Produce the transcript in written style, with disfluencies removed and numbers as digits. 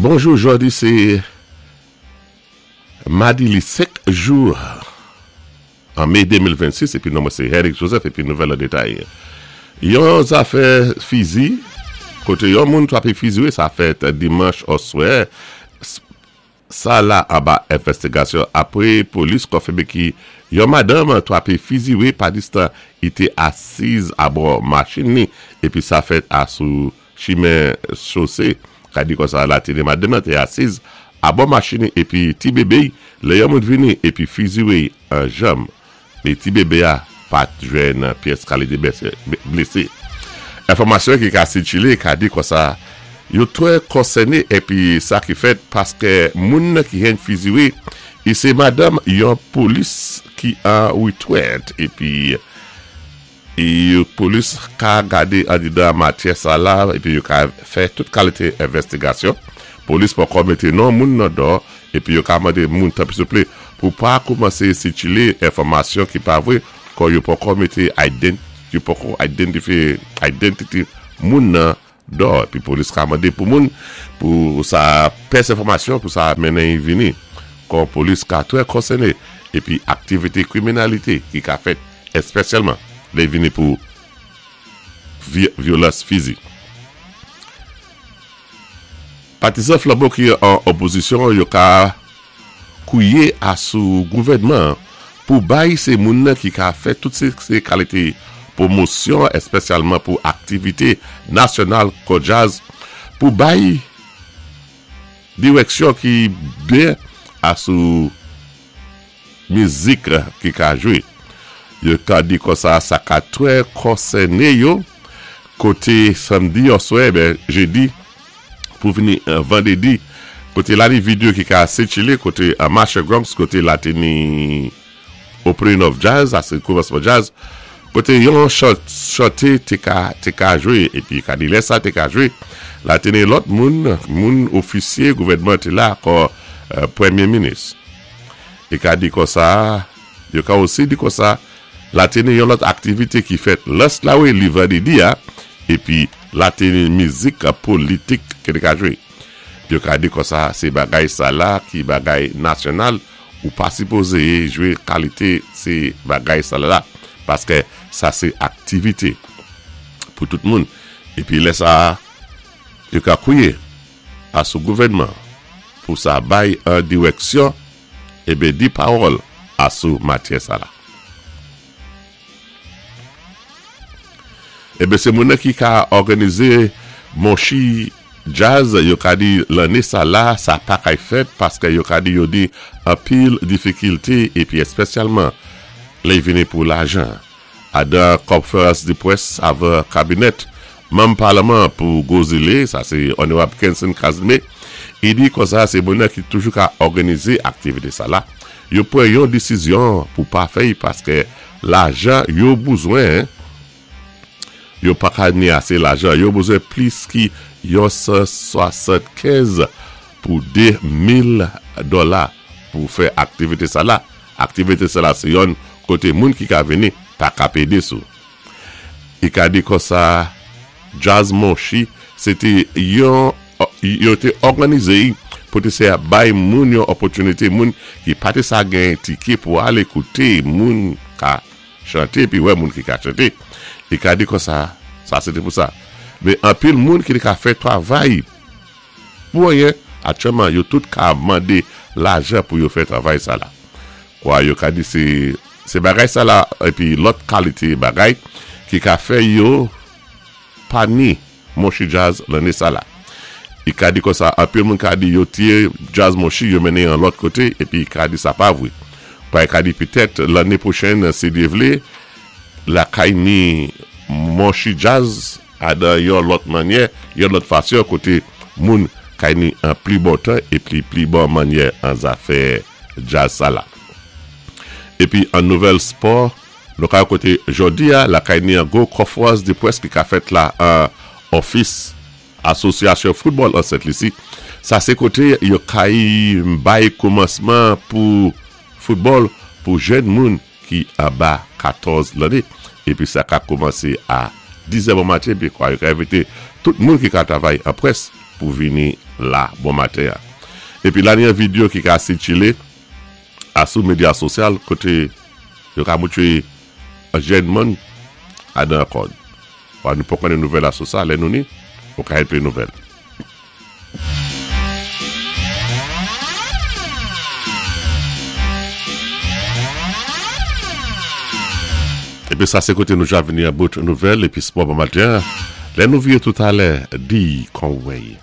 Bonjou jodi sé madi li 5 jou an me 2026 épi non mwen sé Herrick Joseph épi nouvèl an détay. Yon zafè fizi koté yon moun trapé fizi wi sa fèt dimanch oswè Sa la anba envèstigasyon apre polis konfime ki yon madanm trape fiziwe padistan i te asiz abò machin ni epi sa fèt a sou chimen chose. Ka di konsa latine madanm nan te asiz abò machin ni epi ti bebe y lè yon moun vini epi fiziwe y an janm. Men ti bebe a pa t jwenn pyès kalite blese. Enfòmasyon ki ka sikile ka di konsa, yo trè konsène epi sa ki fèt paske moun ki hen fiziwe i se madanm yon polis ki an retrèt epi Polis ka gade andedan matyè sa la epi yo ka fè tout kalite envèstigasyon. Polis poko mete non moun nan dò epi yo ka mande moun tanpri souple pou pa koumanse sikile enfòmasyon ki pa vre kò yo poko mete yo poko identifye identity moun nan Dò, epi polis ka mande pou moun pou sa pès enfòmasyon pou sa mennen y vini. Kò polis ka trè konsène epi aktivite kriminalite ki ka fèt espesyalman lè y vini pou vyolans fizik. Patizan Flanbo ki an opozisyon yo ka Kouye a sou gouvènman an pou bay se moun nan ki ka fè tout se kalite pwomosyon espesyalman pou aktivite nasyonal kò djaz pou bay dirèksyon ki byen a sou mizik ki ka jwe. Yo ka di konsa sa ka trè konsène yo kote samdi oswè jedi pou vini vandredi kote la ni video ki ka sikile kote Marshall Grumps kote la te ni opening of jazz sa se koumansman jazz kote yon chante te ka te ka jwe epi ka di lè sa te ka jwe la te ni lòt moun moun ofisye gouvènman te la kò premye minis e ka di konsa yo ka osi di konsa la te ni yon lòt aktivite ki fèt lans la wi li vandredi a Epi la te mizik politik ke te ka jwe. Yo ka di konsa se bagay sa la ki bagay nasyonal ou pa sipoze jwe kalite se bagay sa la paske sa se aktivite pou tout moun. Epi lè sa a yo ka kouye a sou gouvènman pou sa bay an dirèksyon eben di pawòl a sou matyè sa la. Eben se moun nan ki ka òganize monchi djaz yo ka di lanne sa la sa pa kay fèt paske yo ka di yo di anpil difikilte epi espesyalman lè y vini pou lajan adan kònferans de près avan kabinèt manm palman pou gwo zile sa se onorab Kenson Casimir i di konsa se moun nan ki toujou ka òganize aktivite sa la Yo pran yon desizyon pou pa fè y paske lajan yo bouzwen yo pa ka ni ase lajan yo bouzwen plis ki yon 175 pou 2 mil dola pou fè aktivite sa la aktivite sa la se yonn kote moun ki ka vini pa ka pede sou I ka di konsa Jazz Monchi se te yon yo te òganize I pou te se bay moun yon opòtinite moun ki pa te sa gen tike pou ale koute moun ka chante epi wè moun ki ka chante I ka di konsa sa se te pou sa men anpil moun ki te ka fè travay pou anyen aktyèlman yo tout ka mande lajan pou yo fè travay sa la. Kwa yo ka di se se bagay sa la epi lòt kalite bagay ki ka fè yo pa ni Monchi Jazz lanne sa la. I ka di konsa anpil moun ka di yo tiye Jazz Monchi yo mennen yon lòt kote epi ka di sa pa vre. Kwa yo ka di petèt lanne pwochèn si Dye vle lakay ni Monchi Jazz a dan yon lòt mannyè, yon lòt fasyon kote moun kay ni an pli bon tan epi pli bon mannyè an zafè djaz sa la. Epi an nouvèl spò, nou ka wè kote jodi a lakay ni an gwo konfrans de près ki ka fèt la an ofis asosyasyon foutbòl an Sent Lisi. Sa se kote yo kay bay koumansman pou foutbòl pou jèn moun ki anba 14 lanne epi sa ka koumanse a 10 zè bon maten épi kwa yo ka envité tout moun ki ka travay an près pou vini la bon maten an. Épi la ni yon vidéo ki ka sikilé asou médya sosyal koté yo ka moutwé an jèn moun adan kòd. Wa nou poko konnen nouvèl asou sa lè nou ni ou ka enpe nouvèl. Epi sa sé koté nou ja vini an bout nouvèl épi spò bon maten an. Lè nou viré toutalè, di kon wèy.